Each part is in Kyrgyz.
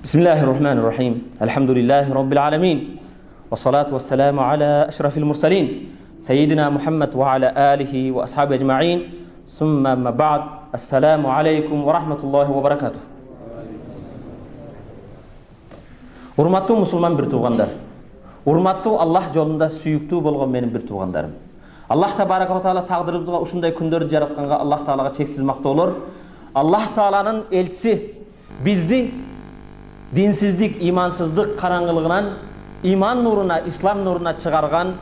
Bismillahirrahmanirrahim. Elhamdülillahi Rabbil alamin. Ve salatu ve selamu ala eşrafil mursalin. Seyyidina Muhammed ve ala alihi ve ashabi ecma'in. Summa amma ba'd. Assalamu alaikum ve rahmetullahi ve barakatuh. Урматтуу мусулман бир туугандар. Урматтуу Аллах жолунда сүйүктүү болгон менин бир туугандарым. Аллах табарaka ва таала тагдырыбызга ушундай күндөрдү жаратканга Аллах таалага чексиз мактоолор. Аллах тааланын элчиси бизди динсиздик, имансыздык караңгылыгынан иман нуруна, ислам нуруна чыгарган,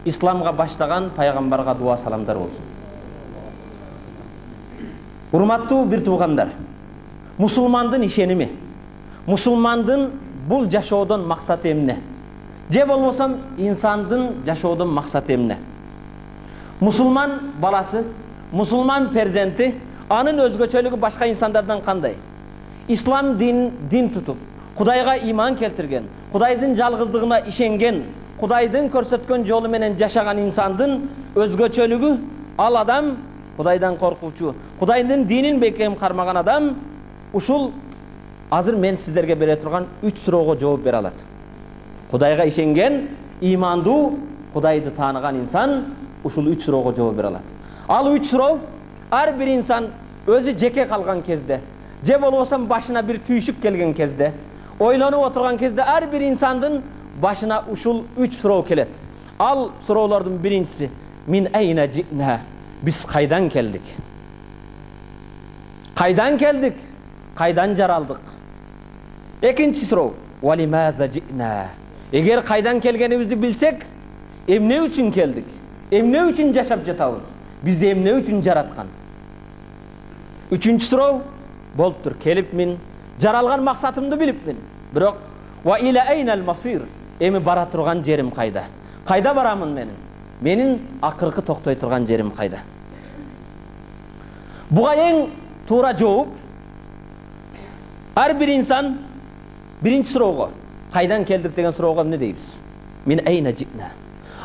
исламга баштаган пайгамбарга дуа саламдар болсун. Урматтуу бир туугандар, мусулмандын ишеними, мусулмандын бул жашоодон максаты эмне? Же болбосо инсандын жашоодон максаты эмне? Мусулман баласы, мусулман перзенти, анын өзгөчөлүгү башка инсандардан кандай? Ислам дин тутуп, Кудайга иман келтирген, Кудайдын жалгыздыгына ишенген, Кудайдын көрсөткөн жолу менен жашаган инсандын өзгөчөлүгү, ал адам Кудайдан коркуучу, Кудайдын динин бекем кармаган адам ушул азыр мен сиздерге бере турган 3 суроого жооп бере алат. Кудайга ишенген, имандуу, Кудайды тааныган инсан ушул 3 суроого жооп бере алат. Ал 3 суроо ар бир инсан өзү жеке калган кезде, же болбосо башына бир түйшүк келген кезде, ойлонуп отурган кезде ар бир инсандын башына ушул 3 суроо келет. Ал суроолордун биринчиси: мин айна жина? Биз кайдан келдик? Кайдан келдик? Кайдан жаралдык? Экинчи суроо: валимаза жина? Эгер кайдан келгенибизди билсек, эмне үчүн келдик? Эмне үчүн жашап жатабыз? Бизди эмне үчүн жараткан? Үчүнчү суроо: болуптур, келипмин, жаралган максатымды билипмин. Бирок ва иля айнал масир? Эми бара турган жерим кайда? Кайда барамын менин? Менин акыркы токтой турган жерим кайда? Буга эң туура жооп ар бир инсан биринчи суроого, кайдан келдик деген суроого эмне дейбиз? Мин айна жина?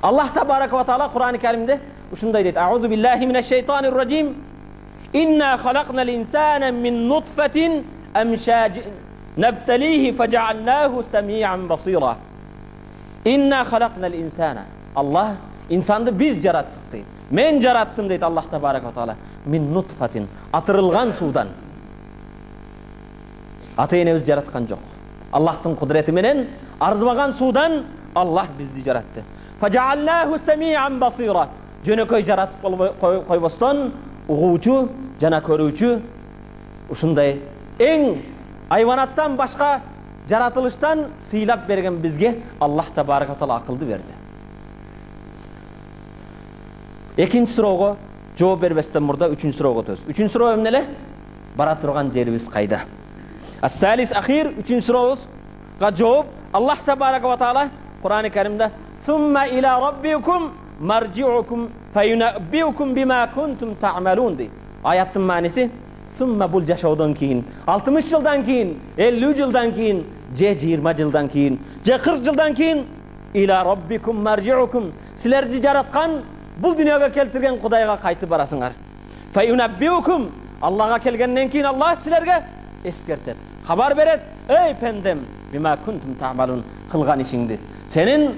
Аллах табарака ва таала Кур'ан-ы Каримде ушундай дейт: аузу биллахи минаш шайтанир раджим. Инна халакнал инсана мин нутфатин амшaj nabtalihi faj'alnahu sami'an basira. Inna халакнал инсана. Аллах инсанды биз жараттык дейт. Мен жараттым дейт Аллах табарака ва таала. Мин нутфатин, атырылган суудан. Ата-энебиз жараткан жок. Аллахтын кудрети менен арзымаган суудан Аллах бизди жаратты. Faj'alnahu sami'an basira. Жөнөкөй жаратып койбостон угуучу жана көрүүчү, ушундай эң айванаттан башка жаратылыштан сыйлап берген бизге Аллах табарака ва таала акылды берди. Экинчи суроого жооп бербестен мурда үчүнчү суроого өтөбүз. Үчүнчү суроо эмне эле? Бара турган жерибиз кайда? Ас-салис ахир, үчүнчү сурообузга жооп Аллах табарака ва таала Кур'ан-ы Каримде сумма иля раббикум маржи'укум фаюнаббиукум бима кунтум та'малун дейт. Аяттын мааниси: сумма бул жашоодон кийин, 60 жылдан кийин, 50 жылдан кийин, же 20 жылдан кийин, же 40 жылдан кийин иля раббикум маржи'укум, силерди жараткан, бул дүйнөгө келтирген Кудайга кайтып барасыңар. Фаюнаббиукум, Аллага келгенден кийин Аллах силерге эскертет, хабар берет: эй пендем, бима кунтум та'малун, кылган ишиңди, сенин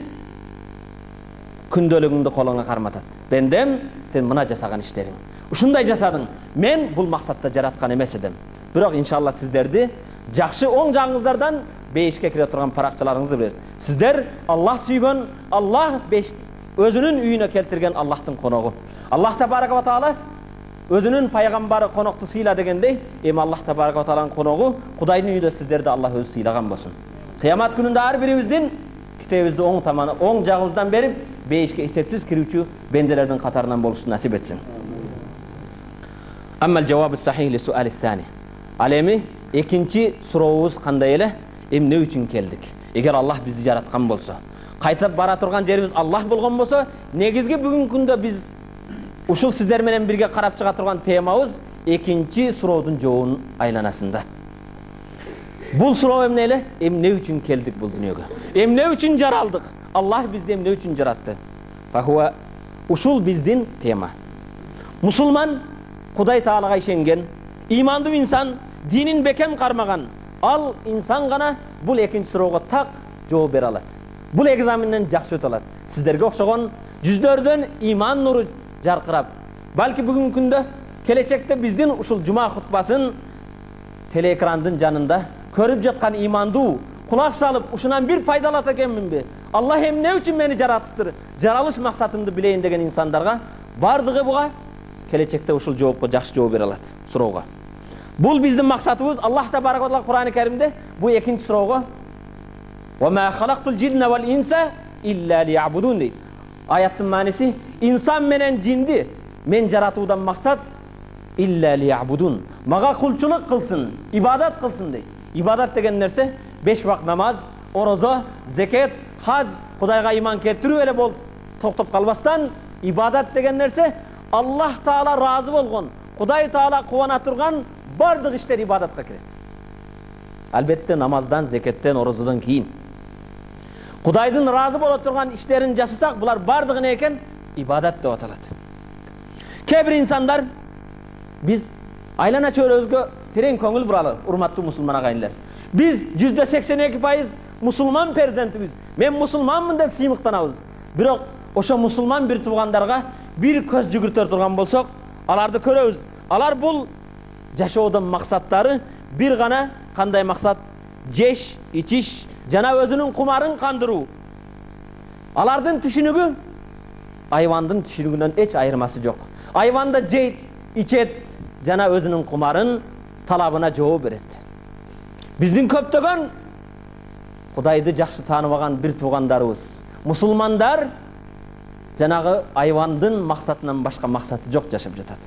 күндөлүгүңдү колуңа карматат. Бендем, сен мына жасаган иштериң, ушундай жасадың. Мен бул максатта жараткан эмес эдим. Бирок иншалла сиздерди жакшы оң жагыңыздардан бейишке кире турган паракчаларыңызды берет. Сиздер Аллах сүйгөн, Аллах өзүнүн үйүнө келтирген Аллахтын коногу. Аллах табарака ва таала өзүнүн пайгамбары конокту сыйла дегендей, эми Аллах табарака ва тааланын коногу Кудайдын үйүндө сиздерди Аллах өзү сыйлаган болсун. Кыямат күнүндө ар бирибиздин китебибизди оң таманы, оң жагыбыздан берип, бейишке эсепсиз кирүүчү бенделердин катарынан болушту насип этсин. Аммал жавабу сахих ли суали сани. Ал эми экинчи сурообуз кандай эле? Эмне үчүн келдик? Эгер Аллах бизди жараткан болсо, кайтып бара турган жерибиз Аллах болгон болсо, негизги бүгүнкү күндө биз ушул сиздер менен бирге карап чыга турган темабыз экинчи суроодун жообунун айланасында. Бул суроо эмне эле? Эмне үчүн келдик бул дүйнөгө? Эмне үчүн жаралдык? Аллах бизди эмне үчүн жаратты? Фахуа, ушул биздин тема. Мусулман Кудай таалага ишенген, имандуу инсан, динин бекем кармаган, ал инсан гана бул экинчи суроого так жооп бере алат. Бул экзаменден жакшы өтө алат. Сиздерге окшогон жүздөрдөн иман нуру жаркырап, балки бүгүнкү күндө келечекте биздин ушул жума хутбасын телеэкрандын жанында көрүп жаткан имандуу кулак салып, ушунан бир пайдалат экенминби? Аллах эмне үчүн мени жараттыр? Жаралыш максатымды билейин деген инсандарга бардыгы буга келечекте ушул жоопко жакшы жооп бере алат, суроого. Бул биздин максатыбыз. Аллах табарак ва таала Кур'ан-ы Каримде бу экинчи суроого "Ва ма халактул джинна вал инса илля лиябудун" дейт. Аяттын мааниси инсан менен жинди мен жаратуудан максат илля лиябудун, мага кулчулук кылсын, ибадат кылсын дейт. Ибадат деген нерсе 5 вакыт намаз, орозо, зекет, хаж, Кудайга иман келтирүү эле болуп токтоп калбастан, ибадат деген нерсе Аллах Таала разы болгон, Кудай Таала кубана турган бардык иштер ибадатка кирет. Албетте намаздан, зекеттен, орозодон кийин. Кудайдын разы боло турган иштерин жасасак, булар бардыгы не экен? Ибадат деп аталат. Кээ бир инсандар биз айлана чөйрөбүзгө терең көңүл буралы, урматтуу мусулман агайындар. Биз 82% мусулман перзентибиз. Мен мусулманмын деп сыймыктанабыз. Бирок ошо мусулман бир туугандарга бир көз жүгүртөр турган болсок, аларды көрөбүз. Алар бул жашоодон максаттары бир гана кандай максат? Жеш, ичиш жана өзүнүн кумарын кандыруу. Алардын түшүнүгү айвандын түшүнүгүнөн эч айырмасы жок. Айванда жейт, ичет жана өзүнүн кумарын талабына жооп берет. Биздин көптөгөн Кудайды жакшы тааныбаган бир туугандарыбыз, мусулмандар жанагы айвандын максатынан башка максаты жок жашап жатат.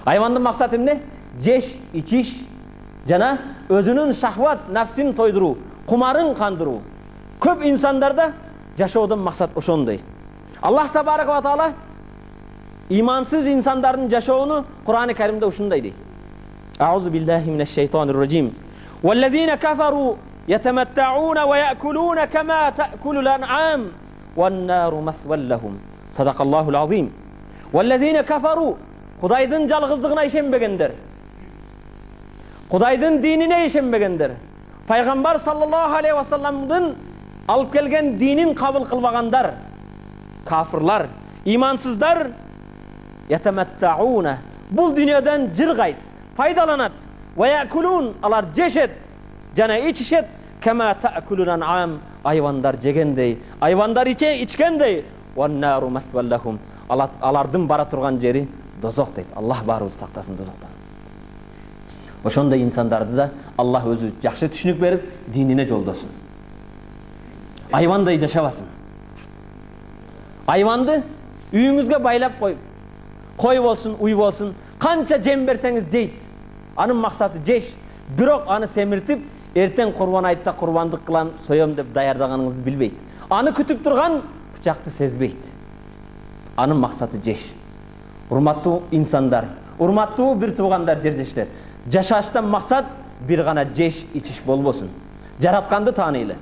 Айвандын максаты эмне? Жеш, ичиш жана өзүнүн шахват, нафсин тойдуруу, кумарын кандыруу. Көп инсандарда жашоодон максат ошондой. Аллах табарак ва таала имансыз инсандардын жашоону Кур'ан-ы Каримде ушундай дейт. Аузу биллахи минаш шайтанир раджим. Валлазина кафару ятаматтауна ва яакулуна кама таакулул ан'ам ван нару масвал лахум. Садакаллахул азим. Валлазина кафару, Кудайдын жалгыздыгына ишенбегендер, Кудайдын динине ишенбегендер, пайгамбар саллаллаху алейхи ва салламдын алып келген динин кабыл кылбагандар, кафырлар, имансыздар, ятаматтауна, бул дүйнөдөн жыргайт, пайдаланат, ва яакулун, алар жешет жана ичишет, кама таакулул ан'ам, айвандар жегендей, айвандар ичкендей, ван нару масвал лахум, алардын бара турган жери дозок дейт. Аллах баарыбызды сактасын дозоктон. Ошондой инсандарды да Аллах өзү жакшы түшүнүк берип, динине жолдосун. Айвандай жашабасын. Айванды үйүңүзгө байлап коюп, кой болсун, уй болсун, канча жем берсеңиз жейт. Анын максаты жеш, бирок аны семиртип, эртең курбан айтта курбандык кылам, соем деп даярдаганыңызды билбейт. Аны күтүп турган бычакты сезбейт. Анын максаты жеш. Урматтуу инсандар, урматтуу бир туугандар, жердештер, жашаштан максат бир гана жеш, ичиш болбосун. Жаратканды тааныйлы.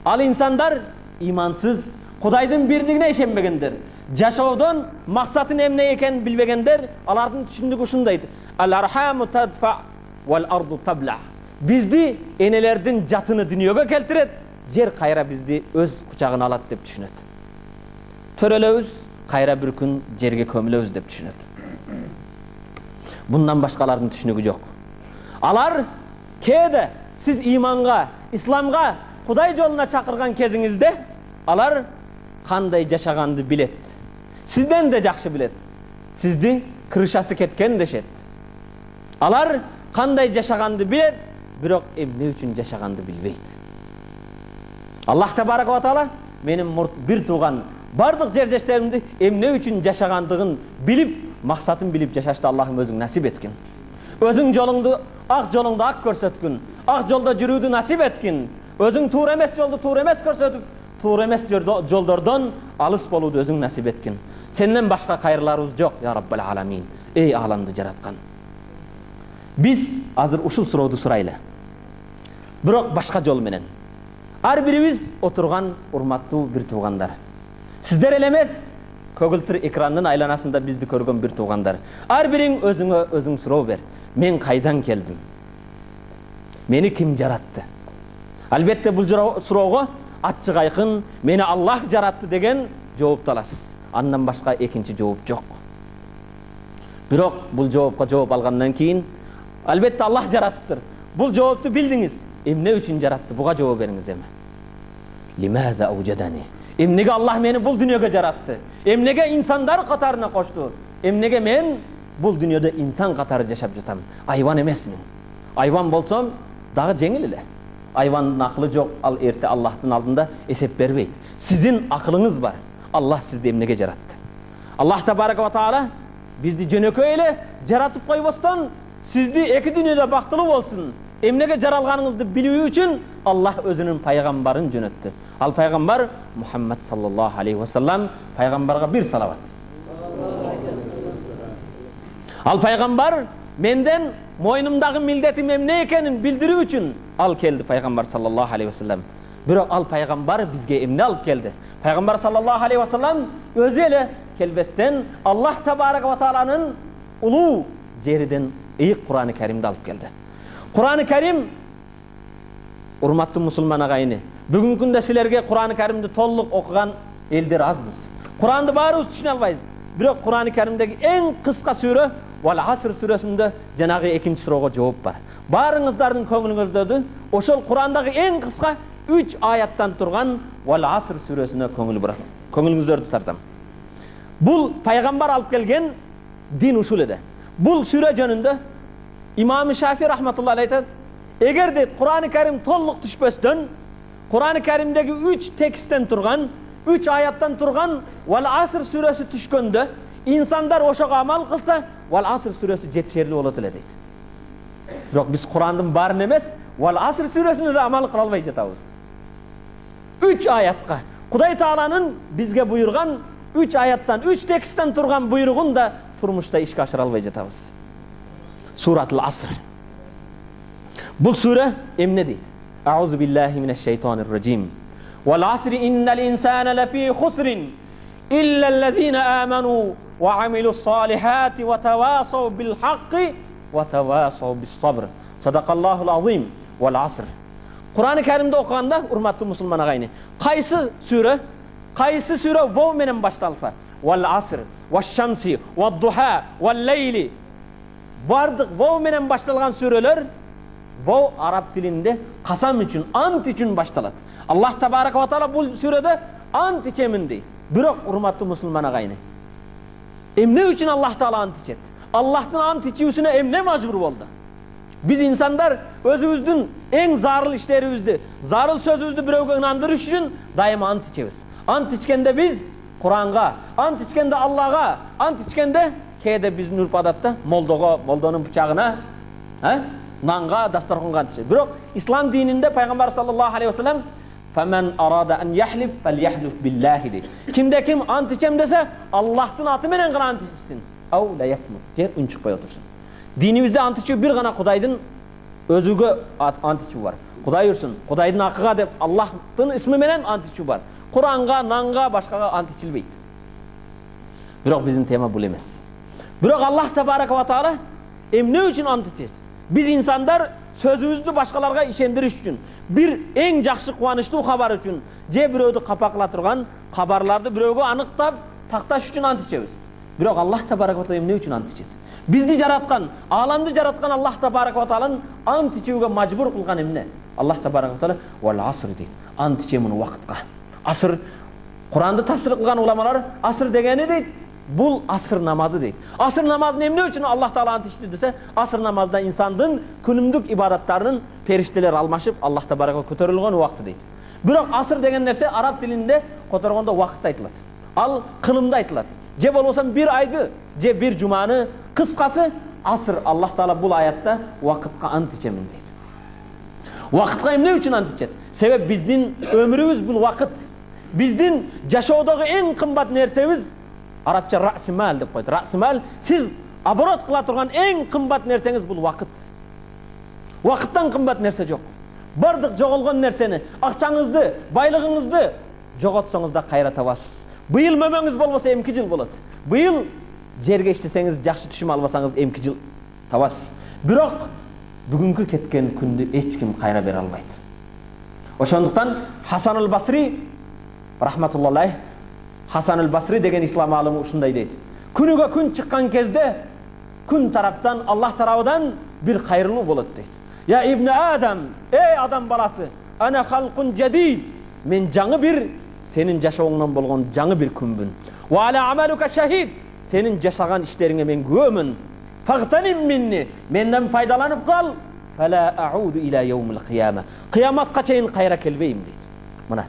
Ал инсандар имансыз, Кудайдын бирдигине ишенбегендер, жашоодон максатын эмне экенин билбегендер, алардын түшүндүгү ушундай: ал-архаму тадфа вал арду табла. Бизди энелердин жатыны дүйнөгө келтирет, жер кайра бизди өз кучагына алат деп түшүнөт. Төрөлөбүз, кайра бир күн жерге көмүлөбүз деп түшүнөт. Bundan başkalarının түшүнүгү жок. Алар кээде сиз иманга, исламга, Кудай жолуна чакырган кезиңизде алар кандай жашаганды билет. Сизден де жакшы билет. Сизди крышасы кеткен дешет. Алар кандай жашаганды билет, бирок эмне үчүн жашаганды билбейт. Аллах табарак ва таала менин бир тууган бардык жердештеримди эмне үчүн жашагандыгын билип, максатын билип жашашты Аллахым өзүң насип эткин. Өзүң жолуңду, ак жолуңду ак көрсөткүн, ак жолдо жүрүүдү насип эткин. Өзүң туура эмес жолду туура эмес көрсөтүп, туура эмес жолдордон алыс болууду өзүң насип эткин. Сенден башка кайрыларыбыз жок, я Раббал аламин. Эй аламды жараткан. Биз азыр ушул сурооду сурайлы. Бирок башка жол менен. Ар бирибиз отурган урматтуу бир туугандар. Сиздер эле эмес, көгүлтүр экрандын айланасында бизди көргөн бир туугандар. Ар бириң өзүңө өзүң суроо бер. Мен кайдан келдим? Мени ким жаратты? Албетте бул суроого ачык айкын мени Аллах жаратты деген жоопту аласыз. Андан башка экинчи жооп жок. Бирок бул жоопко жооп алгандан кийин албетте Аллах жаратыптыр. Бул жоопту билдиңиз. Эмне үчүн жаратты? Буга жооп бериңиз эми. Лимаза аужадани. Эмнеге Аллах мени бул дүйнөгө жаратты? Эмнеге инсандар катарына кошту? Эмнеге мен бул дүйнөдө инсан катары жашап жатам? Айван эмесмин. Айван болсом дагы жеңил эле. Айвандын акылы жок, ал эрте Аллахтын алдында эсеп бербейт. Сиздин акылыңыз бар. Аллах сизди эмнеге жаратты? Аллах табарак ва таала бизди жөнөкөй эле жаратып койбостон сизди эки дүйнөдө бактылуу болсун, эмнеге жаралганыңызды билүү үчүн Аллах өзүнүн пайгамбарын жөнөттү. Ал пайгамбар Мухаммад саллаллаху алейхи ва саллам. Пайгамбарга бир салават. Ал пайгамбар менден мойнумдагы милдетим эмне экенин билдирүү үчүн ал келди, пайгамбар саллаллаху алейхи ва саллам. Бирок ал пайгамбар бизге эмне алып келди? Пайгамбар саллаллаху алейхи ва саллам өзү эле келбестен Аллах табарак ва тааланын улуу жериден ыйык Кур'ан-ы Каримди алып келди. Кур'ан-ы Карим, урматтуу мусулман агайыны, бүгүнкү күндө силерге Кур'ан-ы Каримди толук окуган элдер азбыз. Кур'анды баарыбыз түшүнө албайбыз. Бирок Кур'ан-ы Каримдеги эң кыска сүрө Вал Аср сүрөсүндө жанагы экинчи суроого жооп бар. Баарыңыздардын көңүлүңүздө ошол Кур'андагы эң кыска 3 аяттан турган Вал Аср сүрөсүнө көңүлүңүздөрдү тартам. Бул пайгамбар алып келген дин ушул эди. Бул сүрө жөнүндө имам Шафи рахматуллахи айтат, эгерде Кур'ан-ы Карим толук түшпөстөн Кур'ан-ы Каримдеги 3 тексттен турган, 3 аяттан турган Вал Аср сүрөсү түшкөндө инсандар ошого амал кылса, Вал Аср сүрөсү жетишерлүү болот эле дейт. Бирок биз Кур'андын баарын эмес, Вал Аср сүрөсүнө да амал кыла албай жатабыз. 3 аятка Кудай Тааланын бизге буйрган 3 аяттан, 3 тексттен турган буйругун да турмушта ишке ашыра албай жатабыз. Суратул Аср. Бул сүрө эмне дейт? Аузу биллахи минеш шейтанир раджим. Вал асри иннал инсана лафи хусрин илля аллазина аману ва амилус салихати ва тавасау бил хакки ва тавасау бис сабр. Садакаллахул азим. Вал аср. Кур'ан-ы Каримди окуганда, урматтуу мусулман агайны, кайсы сүрө воу менен башталса, Вал аср, ваш шамси, вад духа, вал лейли, бардык воу менен башталган сүрөлөр воу араб тилинде касам үчүн, ант үчүн башталат. Аллах табарак ва таала бул сүрөдө ант ичемин дейт. Бирок урматтуу мусулман агайны, эмне үчүн Аллах таала ант ичет? Аллахтын ант ичүүсүнө эмне мажбур болду? Биз инсандар өзүбүздүн эң зарыл иштерибизди, зарыл сөзүбүздү бирөөгө ынандырыш үчүн дайыма ант ичебиз. Ант ичкенде биз Куранга, ант ичкенде Аллага, ант ичкенде кээде биздин үрп адатта молдого, молдонун бычагына, нанга, дастарханга ант ичет. Бирок ислам дининде пайгамбар саллаллаху алейхи ва саллам "Фаман арада ан яхлиф фальяхлиф биллахи" дейт. Кимде ким ант ичем десе, Аллахтын аты менен гана ант ичсин. Ау ла ясмут, же үн чыкпай отурсун. Динибизде ант ичүү бир гана Кудайдын өзүгө ант ичүү бар. Кудай үрсүн, Кудайдын акыга деп Аллахтын исми менен ант ичүү бар. Куранга, нанга, башкага ант ичилбейт. Бирок биздин тема бул эмес. Бирок Аллах табарак ва таала эмне үчүн ант ичет? Биз инсандар сөзүбүздү башкаларга ишендириш үчүн, бир эң жакшы кубанычтуу кабар үчүн, же бирөөдү капакла турган кабарларды бирөөгө аныктап такташ үчүн ант ичебиз. Бирок Аллах табарак ва таала эмне үчүн ант ичет? Бизди жараткан, ааламды жараткан Аллах табарак ва тааланын ант ичүүгө мажбур кылган эмне? Аллах табарак ва таала "Вал аср" дейт. Ант ичемин убакытка. Аср, Куранды тафсир кылган уламалар аср дегени дейт, бул аср намазы дейт. Аср намазын эмне үчүн Аллах таала ант ичти десе, аср намазда инсандын күнүмдүк ибадаттарынын периштелер алмашып, Аллах табарак көтөрүлгөн убакты дейт. Бирок аср деген нерсе араб тилинде которгондо убакытта айтылат. Ал кылымда айтылат. Же болбосо бир айды, же бир жуманы, кыскасы аср. Аллах таала бул аятта убакытка ант ичемин дейт. Убакытка эмне үчүн ант ичет? Себеп биздин өмүрүбүз бул убакыт. Биздин жашоодогу эң кымбат нерсебиз арабча расмал деп коет. Расмал сиз оборот кыла турган эң кымбат нерсеңиз бул убакыт. Убакыттан кымбат нерсе жок. Бардык жоголгон нерсени, акчаңызды, байлыгыңызды жоготсоңуз да кайра табасыз. Быйыл мөмөңүз болбосо эмки жыл болот. Быйыл жерге иштесеңиз, жакшы түшүм албасаңыз эмки жыл табасыз. Бирок бүгүнкү кеткен күндү эч ким кайра бере албайт. Ошондуктан Хасан аль-Басри рахматуллахи Хасан аль-Басри деген ислам алымы ушундай дейт: күнүгө күн чыккан кезде күн тараптан Аллах тарабынан бир кайрылуу болот дейт. Я ибн Адам, эй адам баласы, ана халкун жадид, мен жаңы бир сенин жашооңдон болгон жаңы бир күнбүн. Ва ала амалука шахид, сенин жашаган иштериңе мен күбөмүн. Фагтаним минни, менден пайдаланып кал. Фала ауду иля яумил кыяма, кыяматка чейин кайра келбейм дейт. Мына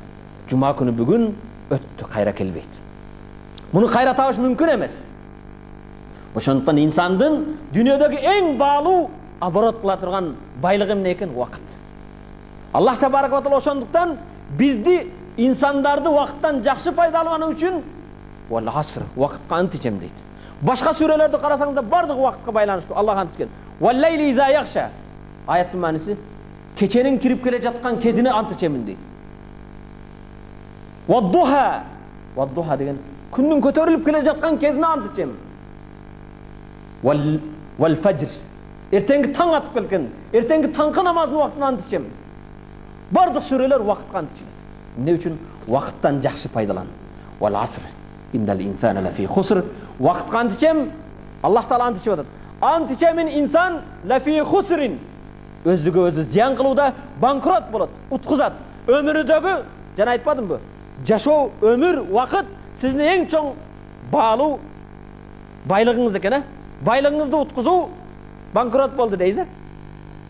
жума күнү бүгүн өттү, кайра келбейт. Муну кайра табыш мүмкүн эмес. Ошондуктан инсандын дүйнөдөгү эң баалуу оборот кыла турган байлыгы эмне экен? Убакыт. Аллах табарак ва таала ошондуктан бизди инсандарды убакыттан жакшы пайдалануу үчүн вал аср, убакытка ант ичем дейт. Башка сүрөлөрдү карасаңыздар бардыгы убакытка байланыштуу. Аллах анткен. Вал лайли иза яхша. Аяттын мааниси кеченин кирип келе жаткан кезине ант ичемин дейт. Ваддуха. Ваддуха деген күндүн көтөрүлүп келе жаткан кезине ант ичемин. Вал фажр. Эртеңки таң атып келген, эртеңки таңкы намазынын убактына ант ичемин. Бардык сүрөлөр убакытка ант ичет. Эмне үчүн? Убакыттан жакшы пайдалан. Вал аср. Иннал инсана лафи хуср. Убакытка ант ичем, Аллах таала ант ичип атат. Ант ичемин инсан лафи хусрин. Өзүгө өзү зыян кылууда банкрот болот, уткузат. Өмүрүдөгү, жана айтпадымбы? Жашоо, өмүр, убакыт сиздин эң чоң баалуу байлыгыңыз экен, байлыгыңызды уткузуу банкрот болду дейсиз.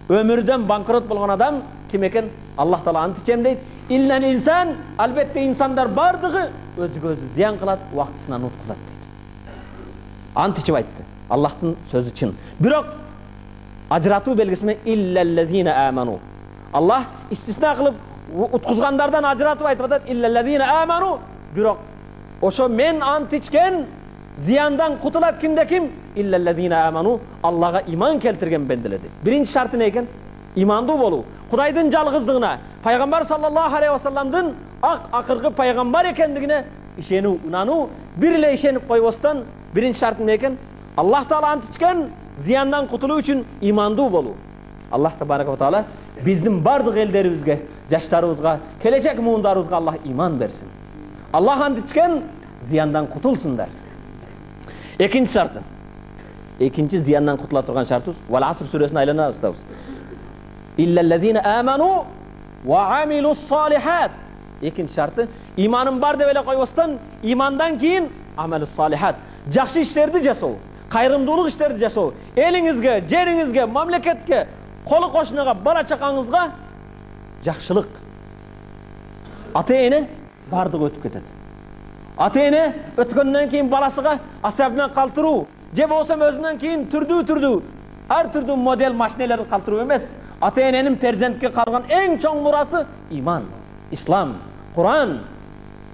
Өмүрдөн банкрот болгон адам ким экен? Аллах таала ант ичем дейт. Илнен инсан, албетте инсандар бардыгы өзүгө өзү зыян кылат, убактысынан уткузат дейт. Ант ичип айтты. Аллахтын сөзү чын. Бирок ажыратуу белгиси менен иллаллазина аману. Аллах истисна кылып уткузгандардан ажыратып айтып атат. Иллаллазина аману. Бирок ошо мен ант ичкен зыяндан кутулат кимде ким? Иллаллазина аману. Аллага иман келтирген бенделер. Биринчи шарты не экен? Имандуу болуу. Кудайдын жалгыздыгына, пайгамбар саллаллаху алейхи ва салламдын акыркы пайгамбар экендигине ишенүү, унануу, бир эле ишенип койбостон биринчи шарты эмне экен? Аллах таала ант ичкен зыяндан кутулуу үчүн имандуу болуу. Аллах табарак ва таала биздин бардык элдерибизге, жаштарыбызга, келечек муундарыбызга Аллах иман берсин. Аллах ант ичкен зыяндан кутулсундар. Экинчи шарты. Экинчи зыяндан кутула турган шартыбыз Вал аср сүрөсүнө айлана баштабыз. Иллаллазина аману ва амилус салихат. Экинчи шарты иманым бар деп эле койбостон, имандан кийин амалус салихат. Жакшы иштерди жасоо, кайрымдуулук иштерди жасоо, элиңизге, жериңизге, мамлекетке, колу кошунага, бала чакаңызга жакшылык. Ата-эне бардыгы өтүп кетет. Ата-эне өткөндөн кийин баласыга асап менен калтыруу, же болбосо өзүнөн кийин түрдүү ар түрдүү модель машинелерди калтыруу эмес. Ата-эненин перзентке калган эң чоң мурасы иман, ислам, Куран.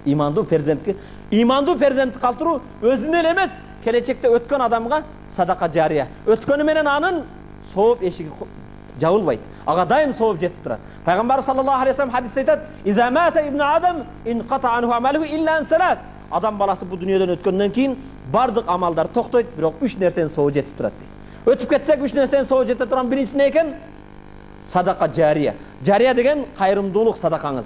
Имандуу перзентке, имандуу перзентти калтыруу өзүнө эле эмес, келечекте өткөн адамга садака жария. Өткөнү менен анын сооп эшиги жабылбайт. Ага дайым сооп жетип турат. Пайгамбар саллаллаху алейхи ва саллям хадисте айтат: "Иза мата ибн Адам инқата анху амалуху илля ан салас." Адам баласы бу дүйнөдөн өткөндөн кийин бардык амалдар токтойт, бирок 3 нерсенин сообу жетип турат дейт. Өтүп кетсек 3 нерсенин сообу жете турган биринчиси не экен? Садака жария. Жария деген кайрымдуулук садакаңыз.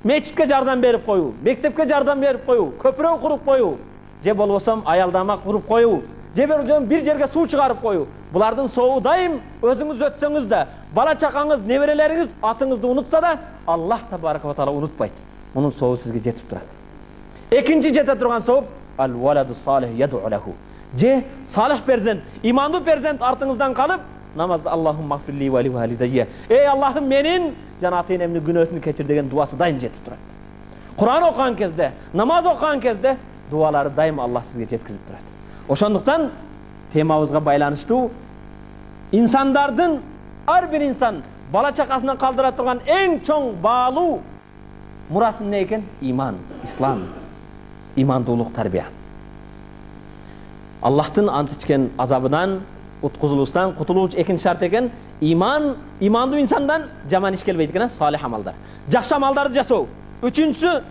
Мечитке жардам берип коюу, мектепке жардам берип коюу, көпүрө куруп коюу, же болбосо аялдама куруп коюу, же бир жерге суу чыгарып коюу. Булардын сообу дайым өзүңүз өтсөңүз да, бала чакаңыз, неберелериңиз атыңызды унутса да, Аллах табарак ва таала унутпайт. Мунун сообу сизге жетип турат. Экинчи жете турган сооп ал валаду салих яду лаху. Же салих перзент, имандуу перзент артыңыздан калып, намазда Аллахумма гфирли ва ли валидайя. Эй Аллахым менин жана ата-энемдин күнөөсүн кечир деген дуасы дайым жетип турат. Куран окуган кезде, намаз окуган кезде дуалары дайым Аллах сизге жеткизип турат. Ошондуктан темабызга байланыштуу инсандардын ар бир инсан бала чакасынан калдыра турган эң чоң баалуу мурасы эмне экен? Иман, ислам, имандуулук, тарбия. Аллахтын ант ичкен азабынан уткузулуштан кутулуу экинчи шарт экен. Иман, имандуу инсандан жаман иш келбейт экен, салих амалдар. Жакшы амалдарды жасоо. Үчүнчүсү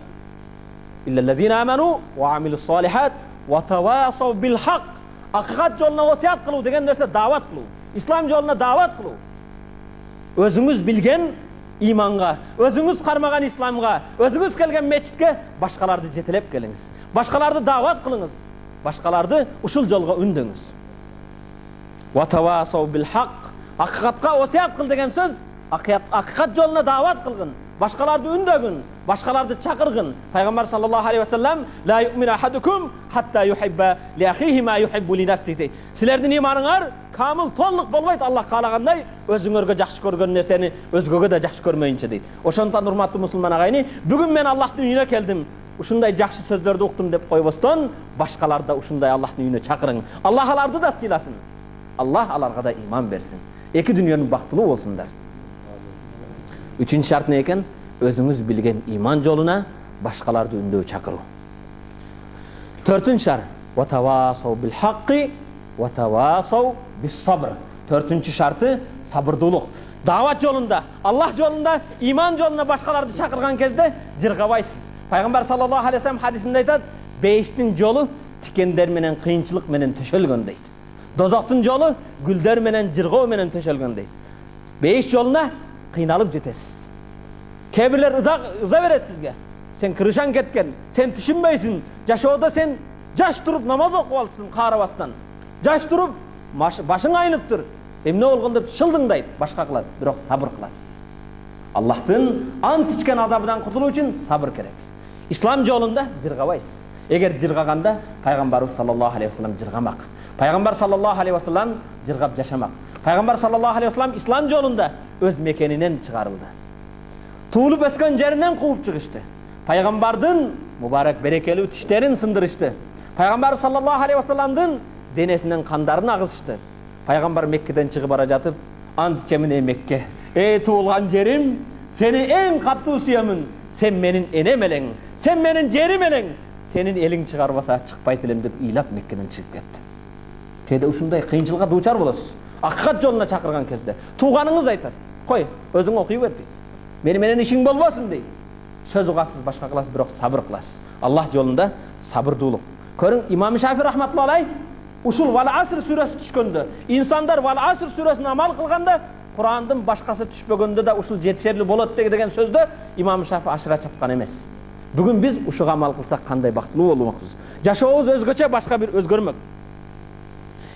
иллаллазина аману ва амилус салихат ва тавасау бил хак. Акыйкат жолуна васият кылуу деген нерсе дават кылуу. Ислам жолуна дават кылуу. өзүңүз билген иманга, өзүңүз кармаган исламга, өзүңүз келген мечитке башкаларды жетелеп келиңиз. Башкаларды даават кылыңыз. Башкаларды ушул жолго үндөңүз. Ватавасау бил хак. Акыйкатка осият кыл деген сөз, акыйкат жолуна даават кылгын. Башкаларды үндөгүн, башкаларды чакыргын. Пайгамбар саллаллаху алейхи ва саллям: "Ла ю'мину ахадукум хатта юхибба ли ахихи ма юхиббу ли нафсихи." Силердин иманыңар камыл, толук болбойт Аллах каалагандай, өзүңөргө жакшы көргөн нерсени өзгөгө да жакшы көрмөйүнчө дейт. Ошондон урматтуу мусулман агайны, бүгүн мен Аллахтын үйүнө келдим, ушундай жакшы сөздөрдү уктум деп койбостон, башкаларды да ушундай Аллахтын үйүнө чакырың. Аллах аларды да сыйласын. Аллах аларга да иман берсин. Эки дүйнөнүн бактылуу болсундар. Үчүнчү шарт не экен? Өзүңүз билген иман жолуна башкаларды үндөп чакыруу. Төртүнчү шарт: ватавасау бил хакки ватавасау бис сабр. Төртүнчү шарты сабырдуулук. Даават жолунда, Аллах жолунда, иман жолуна башкаларды чакырган кезде жыргабайсыз. Пайгамбар саллаллаху алейхи ва саллям хадисинде айтат: "Бейиштин жолу тикендер менен, кыйынчылык менен төшөлгөн" дейт. Дозоктун жолу гүлдөр менен, жыргоо менен төшөлгөн дейт. Бейиш жолуна кыйналып жетесиз. Кээ бирлер ыза берет сизге. Сен кырышан кеткен, сен түшүнбөйсүн. Жашоодо сен жаш туруп намаз окуп алыпсың карабастан. Жаш туруп башың айныптыр. Эмне болгон деп шылдыңдайт, башка кылат, бирок сабыр кыласыз. Аллахтын ант ичкен азабынан кутулуу үчүн сабыр керек. Ислам жолунда жыргабайсыз. Эгер жыргаганда пайгамбарыбыз саллаллаху алейхи ва саллям жыргамак. Пайгамбар саллаллаху алейхи ва саллям жыргап жашамак. Пайгамбар саллаллаху алейхи ва саллям ислам жолунда өз мекенинен чыгарылды. Туулуп өскөн жеринен кууп чыгышты. Пайгамбардын мубарак берекелүү тиштерин сындырышты. Пайгамбар саллаллаху алейхи ва салламдын денесинен кандарын агызышты. Пайгамбар Меккеден чыгып бара жатып, "Ант ичемин ey Мекке, ey туулган жерим, сени эң каттуу сүйөмүн. Сен менин энем элең, сен менин жерим элең. Сенин элиң чыгарбаса чыкпайт элем" деп ыйлап Меккеден чыгып кетти. Кээде ушундай кыйынчылыкка дуучар болосуз. Акыйкат жолуна чакырган кезде тууганыңыз айтат: "Кой, өзүң окуй бер" дейт. "Мени менен ишиң болбосун" дейт. Сөз угасыз, башка кыласыз, бирок сабыр кыласыз. Аллах жолунда сабырдуулук. Көрүң, Имам Шафи рахматуллаху алейх ушул Вал Аср сүрөсү түшкөндө, инсандар Вал Аср сүрөсүн амал кылганда, Курандын башкасы түшпөгөндө да ушул жетишерлүү болот деген сөздө Имам Шафи ашыра чапкан эмес. Бүгүн биз ушуга амал кылсак кандай бактылуу болмокпуз. Жашообуз өзгөчө, башка бир өзгөрмөк.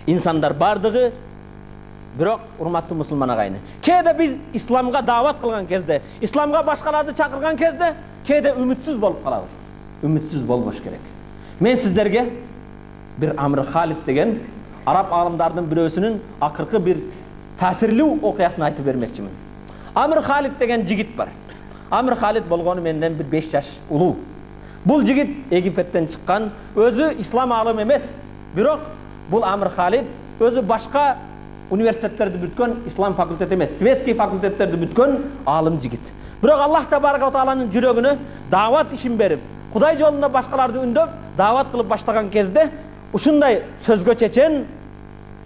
Инсандар бардыгы, бирок урматтуу мусулман агайны, кээде биз исламга даават кылган кезде, исламга башкаларды чакырган кезде, кээде үмүтсүз болуп калабыз. Үмүтсүз болбош керек. Мен сиздерге bir Amr Khalid деген Arap алымдардын бирөөсүнүн акыркы бир таасирлүү окуясын айтып бермекчимин. Amr Khalid деген жигит бар. Amr Khalid болгону менден bir 5 жаш улуу. Бул жигит Египеттен чыккан, өзү ислам алым эмес, бирок бул Amr Khalid өзү башка университеттерди бүткөн, ислам факультети эмес, светский факультеттерди бүткөн алым жигит. Бирок Аллах табарак ва тааланын жүрөгүнө даават ишин берип, Кудай жолунда башкаларды үндөп, даават кылып баштаган кезде ушундай сөзгө чечен,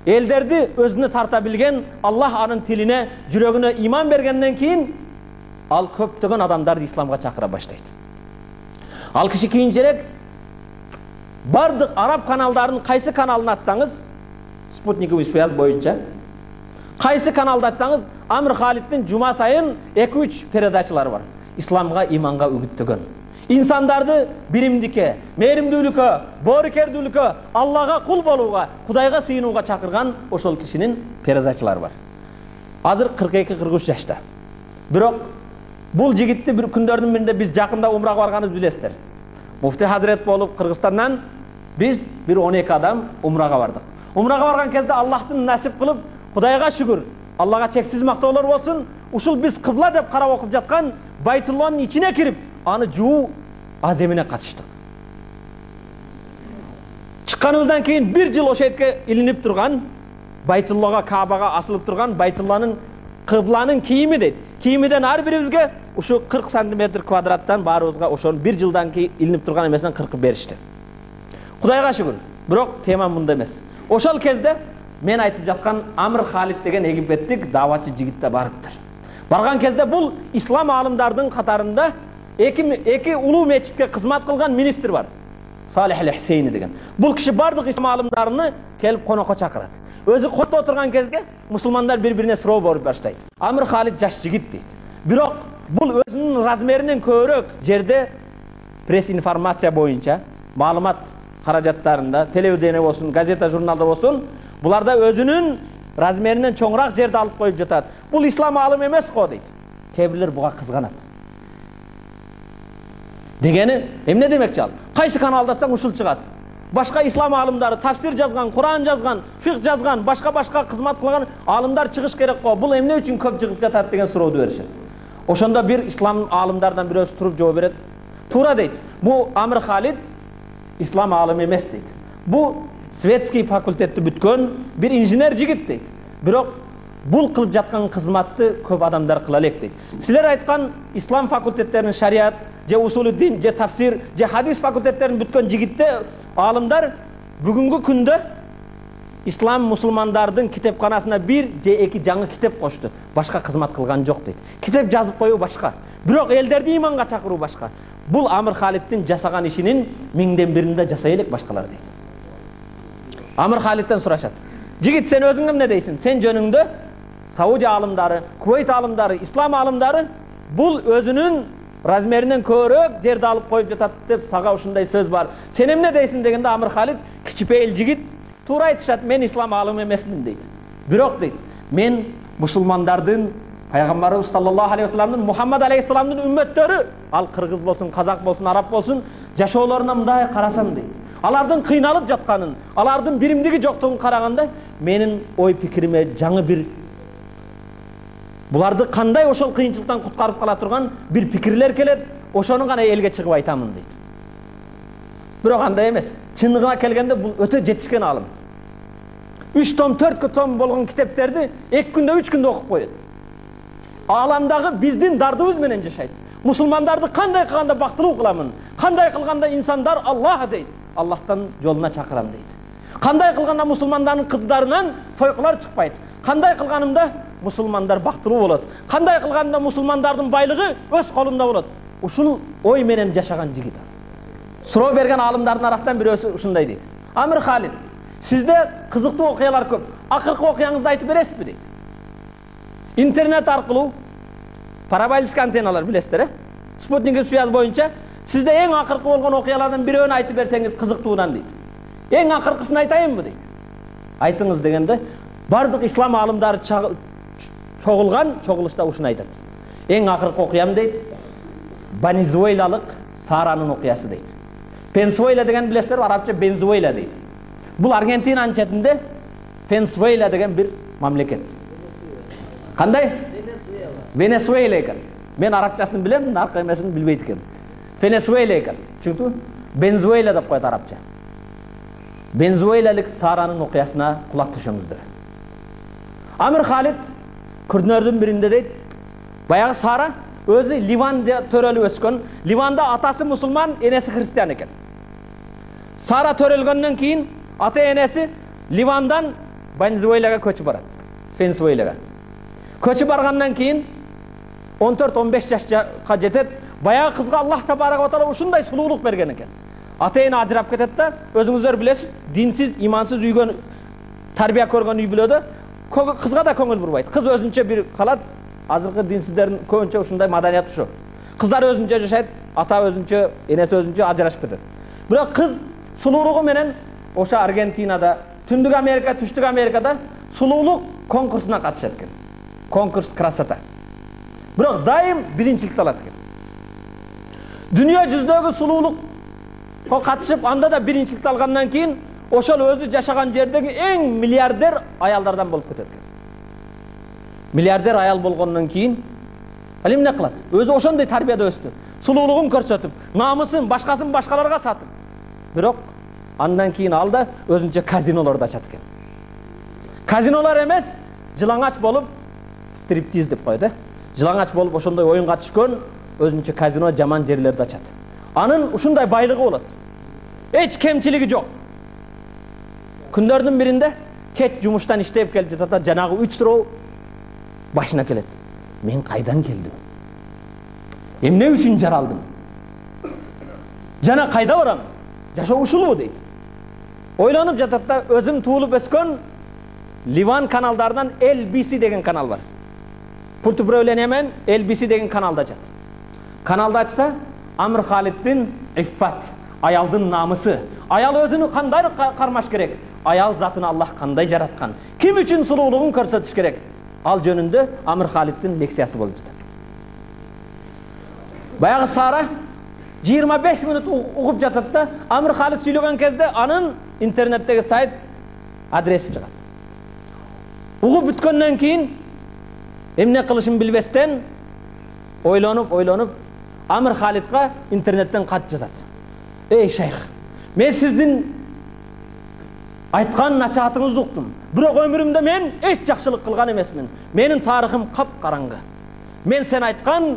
элдерди өзүнө тарта билген, Аллах анын тилине, жүрөгүнө иман бергенден кийин ал көптөгөн адамдарды исламга чакыра баштайт. Ал киши кийинчерээк бардык араб каналдарын кайсы каналын ачсаңыз, спутниковый связь боюнча кайсы каналды ачсаңыз, Amr Khalidдин жума сайын 2-3 передачалары бар. Исламга, иманга үгүттөгөн. İnsandardı bilimdike, mehrimdүүлükө, boorukerdүүлükө, Allah'a kul bolууга, Kudayga sыйынууга чакырган ошол кишинин передачалары бар. Азыр 42-43 жашта. Бирок бул жигитти бир күндөрдүн биринде биз жакында умрага барганыбызды билесиздер. Муфти Hazret болуп Кыргызстандан биз бир 12 адам умрага бардык. Умрага барган кезде Аллахтын насип кылып, Кудайга шүгүр, Аллага чексиз мактоолор болсун, ушул биз кыбла деп карап окуп жаткан Байтулланын ичине кирип, аны жуу аземине катыштык. Чыкканыбыздан кийин 1 жыл ошол жерге илинип турган, Байтуллага, Каабага асылып турган Байтулланын кыбланын кийими дейт. Кийимиден ар бирибизге ушу 40 см квадраттан баарыбызга ошонун 1 жылдан кийин илинип турган эмесинен 40 беришти. Кудайга шүгүр. Бирок тема мында эмес. Ошол кезде мен айтып жаткан Amr Khalid деген египеттик дааватчы жигит да барыптыр. Барган кезде бул ислам алымдардын катарында эки улуу мечитке кызмат кылган министр бар. Салих ал-Хусейни деген. Бул киши бардык ислам алымдарыны келип конокко чакырат. өзү кото отурган кезге мусулмандар бири-бирине суроо берип баштайт. Амир Халид жаш жигит дейт. Бирок бул өзүнүн размеринен көбүрөөк жерде пресс информация боюнча маалымат каражаттарында, телевидение болсун, газета, журналда болсун, буларда өзүнүн размеринен чоңураак жерди алып коюп жатат. Бул ислам алым эмес го дейт. Кээ бирлер буга кызганат. Дегени эмне демекчи ал? Кайсы каналдасаң ушул чыгат. Башка ислам алымдары тафсир жазган, Куран жазган, фикх жазган, башка кызмат кылган алымдар чыгыш керек го. Бул эмне үчүн көп чыгып жатат деген сурооду беришет. Ошондо бир ислам алымдардан бирөөсү туруп жооп берет. Туура дейт. Бу Амир Халид ислам алымы эмес дейт. Бу светский факультетти бүткөн бир инженер жигит дейт. Бирок бул кылып жаткан кызматты көп адамдар кыла элек дейт. Силер айткан ислам факультеттеринин шариат, же усулуддин, же тафсир, же хадис факультеттерин бүткөн жигитте алымдар бүгүнкү күндө ислам мусулмандардын китепканасына бир же эки жаңы китеп кошту. Башка кызмат кылган жок дейт. Китеп жазып коюу башка. Бирок элдерди иманга чакыруу башка. Бул Амир Халидтин жасаган ишинин миңден биринде жасай элек башкалар дейт. Амир Халидтен сурашат. Жигит, сен өзүң эмне дейсиң? Сен жөнүңдө Саудия алымдары, Кувейт алымдары, ислам алымдары бул өзүнүн размеринен көбүрөөк жерди алып коюп жатат деп сага ушундай сөз бар. Сен эмне дейсиң дегенде Амир Халид кичипейил жигит туура айтышат, мен ислам алымы эмесмин дейт. Бирок дейт, мен мусулмандардын пайгамбарыбыз саллаллаху алейхи вассаламдын, Мухаммад алейхиссаламдын үммөттөрү, ал кыргыз болсун, казак болсун, араб болсун, жашоолоруна мындай карасам дейт. Алардын кыйналып жатканын, алардын биримдиги жоктугун караганда, менин ой пикириме жаңы бир буларды кандай ошол кыйынчылыктан куткарып кала турган бир пикирлер келет, ошону гана элге чыгып айтамын дейт. Бирок андай эмес. Чындыгына келгенде бул өтө жетишкен алым. 3 том, 4 том болгон китептерди 2 күндө, 3 күндө окуп коет. Ааламдагы биздин дардыбыз менен жашайт. Мусулмандарды кандай кылганда бактылуу кыламын? Кандай кылганда инсандар Аллах дейт. Аллахтан жолуна чакырам дейт. Кандай кылганда мусулмандардын кыздарынан сойкулар чыкпайт? Кандай кылганымда мусулмандар бактылуу болот? Кандай кылганда мусулмандардын байлыгы өз колунда болот? Ушул ой менен жашаган жигит. Суроо берген алымдардын арасынан бирөөсү ушундай дейт. Амир Халид, сизде кызыктуу окуялар көп. Акыркы окуяңызды айтып бересизби дейт. Интернет аркылуу параболический антенналар билесиздер, спутниктик связь боюнча сизде эң акыркы болгон окуялардан бирөөнү айтып берсеңиз кызыктуудан дейт. Эң акыркысын айтайынбы дейт. Айтыңыз дегенде бардык ислам алымдары чогулган чогулушта ушуну айтат. Эң акыркы окуям дейт, Венесуэлалык Саранын окуясы дейт. Венесуэла деген билесиздер, арабча Венесуэла дейт. Бул Аргентинанын четинде Венесуэла деген бир мамлекет. Кандай? Венесуэла экен. Мен арабчасын билем, аркы эмесин билбейт экен. Венесуэла экен. Түшүндүңбү? Венесуэла деп коет арабча. Венесуэлалык Саранын окуясына кулак түшөңүздөр. Амир Халид күрдүнөрдүн биринде дейт, баягы Сара өзү Ливанда төрөлүп өскөн, Ливанда атасы мусулман, энеси христиан экен. Сара төрөлгөндөн кийин ата энеси Ливандан Венесуэлага көчүп барат. Венесуэлага. Көчүп баргандан кийин 14-15 жашка жетет. Баягы кызга Аллах табарак ва таала ушундай сулуулук берген экен. Ата эне ажырап кетет да, өзүңүздөр билесиз, динсиз, имансыз үйгөн, тарбия көргөн үй бүлөдө кызга да көңүл бурбайт. Кыз өзүнчө бир калат. Азыркы динсиздердин көбүнчө ушундай маданият ушу. Кыздар өзүнчө жашайт, ата өзүнчө, энеси өзүнчө ажырашып кетет. Бирок кыз сулуулугу менен ошо Аргентинада, Түндүк Америка, Түштүк Америкада сулуулук конкурсуна катышат экен. Конкурс красота. Бирок дайым биринчиликти алат экен. Дүйнө жүзүндөгү сулуулукка катышып, анда да биринчиликти алгандан кийин ошол өзү жашаган жердеги эң миллиардер аялдардан болуп кетет экен. Миллиардер аял болгондон кийин ал эмне кылат? Өзү ошондой тарбияда өстү. Сулуулугун көрсөтүп, намысын, башкасын башкаларга сатып. Бирок андан кийин ал да өзүнчө казинолорду ачат экен. Казинолор эмес, жылаңач болуп, стриптиз деп коет, жылаңач болуп ошондой оюнга түшкөн өзүнчө казино жаман жерлерди ачат. Анын ушундай байлыгы болот. Эч кемчилиги жок. Күндөрдүн биринде кеч жумуштан иштеп келип жатат, жанагы 3 суроо башына келет. Мен кайдан келдим? Эмне үчүн жаралдым? Жана кайда барам? Жашоо ушулбу дейт. Ойлонуп жатат да, өзүм туулуп өскөн Ливан каналдарынан LBC деген канал бар. Пурт управление менен LBC деген каналда ачат. Каналды ачса, Амр Халиддин иффат, аялдын намысы. Аял өзүнү кандай кармаш керек? Аял затын Аллах кандай жараткан? Ким үчүн сулуулугун көрсөтүш керек? Ал жөнүндө Амр Халиддин лекциясы болуп жатат. Баягы Сара 25 минут угуп жатат да, Амр Халид сүйлөгөн кезде анын интернеттеги сайт адреси чыгат. Угуп бүткөндөн кийин эмне кылышын билбестен ойлонуп Амр Халидга интернеттен кат жазат. Эй шейх, мен сиздин айткан насаатыңызды уктум. Бирок өмүрүмдө мен эч жакшылык кылган эмесмин. Менин тарыхым капкараңгы. Мен сен айткан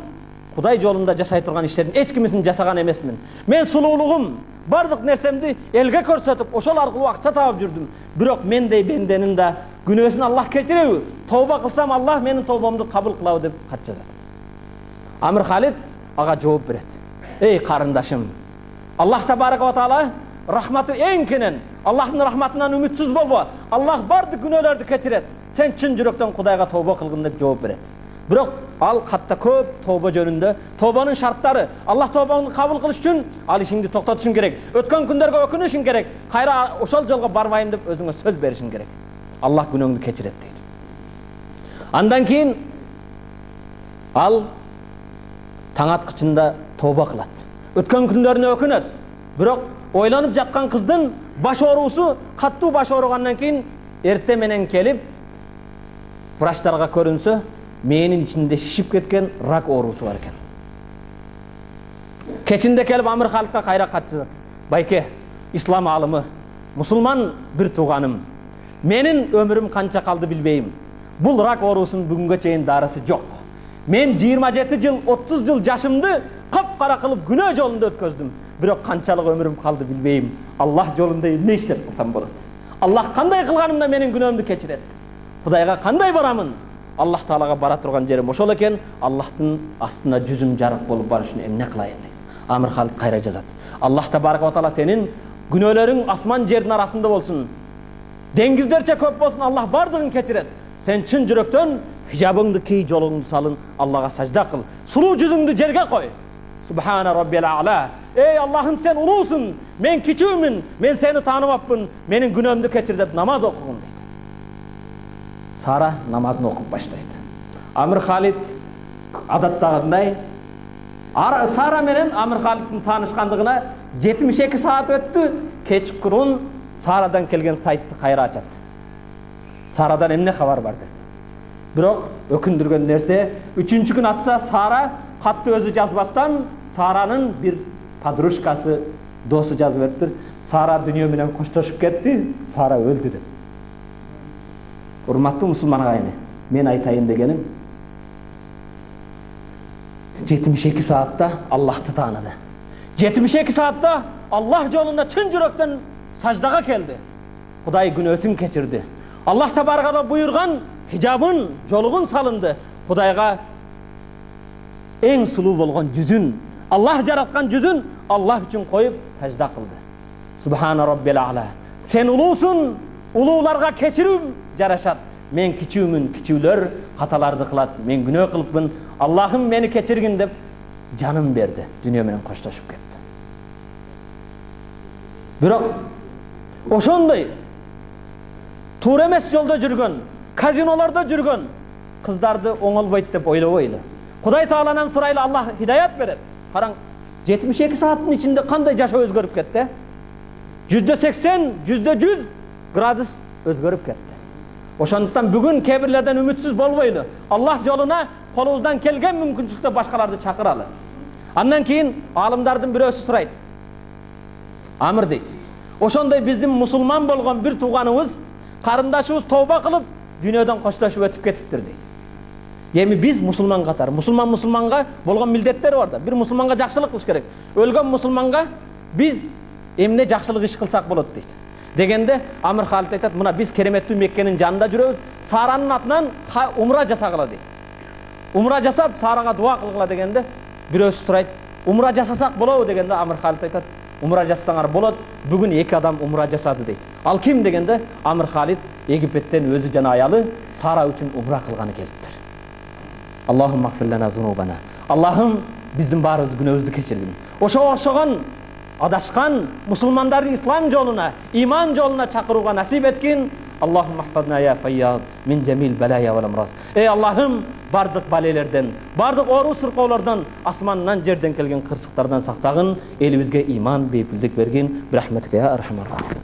Кудай жолунда жашай турган иштердин эч кимисин жасаган эмесмин. Мен сулуулугум, бардык нерсемди элге көрсөтүп, ошол аркылуу акча таап жүрдүм. Бирок мендей бенденин да күнөөсүн Аллах кечиреби? Тооба кылсам Аллах менин тообамды кабыл кылабы деп кат жазат. Амр Халид ага жооп берет. Эй карындашым, Аллах табарак ва таала рахматы эң кенен. Аллахтын рахматынан үмүтсүз болбо. Аллах бардык күнөөлөрдү кечирет. Сен чын жүрөктөн Кудайга тооба кылгын деп жооп берет. Бирок ал катта көп тооба жөнүндө, тообанын шарттары, Аллах тообаңды кабыл кылыш үчүн ал ишиңди токтотушуң керек. Өткөн күндөргө өкүнүшүң керек. Кайра ошол жолго барбайм деп өзүңө сөз беришиң керек. Аллах күнөөңдү кечирет дейт. Андан кийин ал таң аткычында тооба кылат. Өткөн күндөрүнө өкүнөт. Бирок ойлонуп жаткан кыздын баш оорусу, каттуу баш ооругандан кийин эрте менен келип врачтарга көрүнсө, мээнин ичинде шишип кеткен рак оорусу бар экен. Кечинде келип Амр Халидге кайра кат жазат. Байке, ислам алымы, мусулман бир тууганым. Менин өмүрүм канча калды билбейм. Бул рак оорусунун бүгүнгө чейин дарысы жок. Мен 27 жыл, 30 жыл жашымды капкара кылып күнөө жолунда өткөздүм. Бирок канчалык өмүрүм калды билбейм. Аллах жолунда эмне иштеп кылсам болот? Аллах кандай кылганымда менин күнөөмдү кечирет? Кудайга кандай барамын? Аллах Таалага бара турган жерим ошол экен. Аллахтын астына жүзүм жарык болуп барыш үчүн эмне кылайын дейт. Амр Халид кайра жазат. Аллах табарак ва таала сенин күнөөлөрүң асман жердин арасында болсун. Деңиздерче көп болсун, Аллах бардыгын кечирет. Сен чын жүрөктөн хижабыңды кий, жолуңду салын, Аллага сажда кыл. Сулуу жүзүңдү жерге кой. Субхана раббил а'ла. Эй Аллахым, сен улуусуң, мен кичүүмүн, мен сени тааныбапмын, менин күнөөмдү кечир деп намаз окугун дейт. Сара намазын окуп баштайт. Амр Халид адаттагындай Сара менен Амр Халиддин таанышкандыгына 72 саат өттү. Кечкурун Сарадан келген сайтты кайра ачат. Сарадан эмне кабар бар деп. Бирок өкүндүргөн нерсе, 3-күн күн атса Сара катты өзү жазбастан Саранын бир подружкасы, досу жазып бериптир. Сара дүйнө менен коштошуп кетти, Сара өлдү деп. Урматтуу мусулман агайыны, мен айтайын дегеним 72 саатта Аллахты тааныды. 72 саатта Аллах жолунда чын жүрөктөн саждага келди. Кудай күнөөсүн кечирди. Аллах табаракала буйрган хижабын, жолугун салынды. Кудайга эң сулуу болгон жүзүн, Аллах жараткан жүзүн Аллах үчүн коюп сажда кылды. Субхана раббил а'ла. Сен улуусуң, улууларга кечирүү жарашат. Мен кичүүмүн, кичүүлөр каталарды кылат. Мен күнөө кылыпмын. Аллахым мени кечиргин деп жанын берди. Дүйнө менен коштошуп кетти. Бирок ошондой туура эмес жолдо жүргөн, казинолордо жүргөн кыздарды оңолбойт деп ойлобойлу. Кудай Тааланан сурайлы, Аллах хидаят берет. Караң, 72 сааттын ичинде кандай жашоо өзгөрүп кетти? 180, 100 градус өзгөрүп кетти. Ошондуктан бүгүн кээ бирлерден үмүтсүз болбойлу. Аллах жолуна колубуздан келген мүмкүнчүлүктө башкаларды чакыралы. Андан кийин алымдардын бирөөсү сурайт. Амр дейт. Ошондой биздин мусулман болгон бир тууганыбыз, карындашыбыз тооба кылып, дүйнөдөн коштошуп өтүп кетиптир дейт. Эми биз мусулман катары, мусулманга болгон милдеттери бар да. Бир мусулманга жакшылык кылыш керек. Өлгөн мусулманга биз эмне жакшылык иш кылсак болот дейт. Дегенде Амр Халид айтат, мына биз кереметтүү Меккенин жанында жүрөбүз, Саранын атынан умра жасагыла дейт. Умра жасап Сарага дуа кылгыла дегенде бирөөсү сурайт, умра жасасак болобу дегенде Амр Халид айтат, умра жасасаңар болот. Бүгүн 2 адам умра жасады дейт. Ал ким дегенде Амр Халид Египеттен өзү жана аялы Сара үчүн умра кылганы келиптир. Аллахумма гфир лана зунубана. Аллахым биздин баарыбыз күнөөбүздү кечиргин. Ошого окшогон адашкан мусулмандарды ислам жолуна, иман жолуна чакырууга насип эткин. Аллахумма хфазна я файяд мин жамил балая вал амраз. Эй Аллахым, бардык балелерден, бардык оору сыркоолордон, асмандан жерден келген кырсыктардан сактагын, элибизге иман, бейпилдик бергин. Бирахметке я архамар рахим.